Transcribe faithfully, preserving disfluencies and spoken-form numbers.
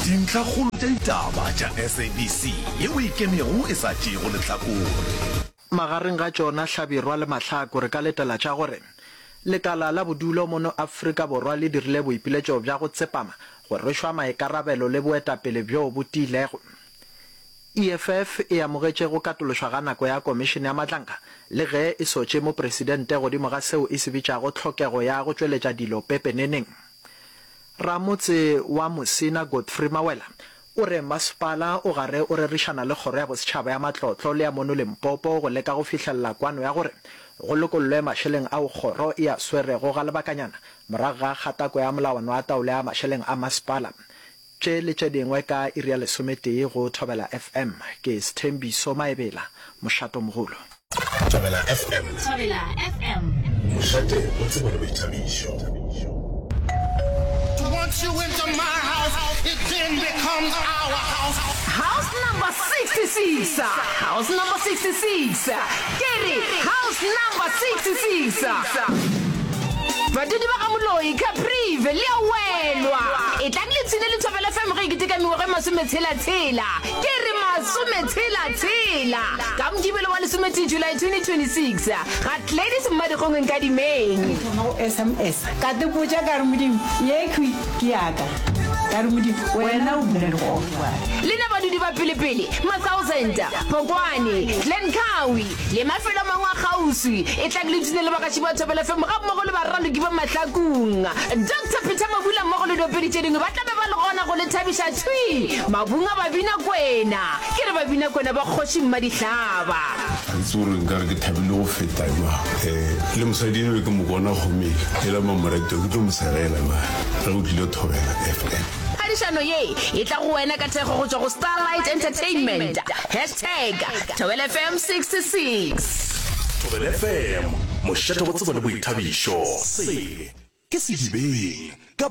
Dintlhakgolo tša ditaba tša S A B C yeo e ikemego e sa tšeego lehlakore. Magareng ga tšona Hlabirwa le Mahlaku re ka letela tša gore lekala la bodulo mono Afrika Borwa le dirile boipiletšo bja go tsepama, go rwešwa maikarabelo le boetapele bjo bo tiilego. E F F e amogetše go katološwa ga nako ya Komišene ya Madlanga le ge e sotše mopresidente godimo ga seo e se bitšago tlhokego ya go tšweletša dilo pepeneneng. Ramotse wa Musina Godfrey Mawela o re masepala o gare o rerišana le Kgoro ya Bosetšhaba ya Matlotlo le ya mono Limpopo go leka go fihlelela kwano ya gore go lokollwe mašeleng ao kgoro e a swerego ga lebakanyana morago ga kgatako ya molawana wa taolo ya mašeleng a masepala. Tše le tše dingwe ka iri ya lesometee go Thobela F M. Ke Sthembiso Maebela, mošatomogolo. Thobela F M. Thobela F M. Mošate o tsebo le boithabišo. Once you enter my house, it then becomes our house. House number sixty-six. House number sixty-six. Ke re house number sixty-six. Badudi ba ga Moloi, Caprive, le a welwa. E tlang le tshine le Thobela F M ge e keteka mengwaga e masometshela-tshela. Ke re masometshela-tshela. Ka Mokibelo wa lesometee July twenty twenty-six ga Gladys Mmadikgong Nkadimeng. Thoma go S M S ka tepotša ka re Modimo yekhwi ke yaka ka re Modimo wena o bula legofa. Lena badudi ba pelepele, Ma-Thousand, Phokwane, Glencoe le mafelo a mangwe a kgauswi, e tlang le ipshine le bagaši ba Thobela F M gammogo le baraloki ba Mahlakung. Doctor Peter Mabula mmogo le diopedi tše dingwe ba tla be ba le gona go le thabiša thwi mabung a Babina Kwena. Ke re Babina Kwena ba kgoši Mmadihlaba. Ga ke tsebe gore nkare ke thabile go feta jwang. um le mosadi eno ke mo bona kgomeng e la mamorato ke tlo mo segela jwang ge o tlile Thobela F M. Phadišano ye e tla go wena ka thekgo go tšwa go Starlight Entertainment. Hashtag Thobela F M sixty-six. Thobela F M, mošate wa tsebo le boithabišo. Se ke Sedibeng ka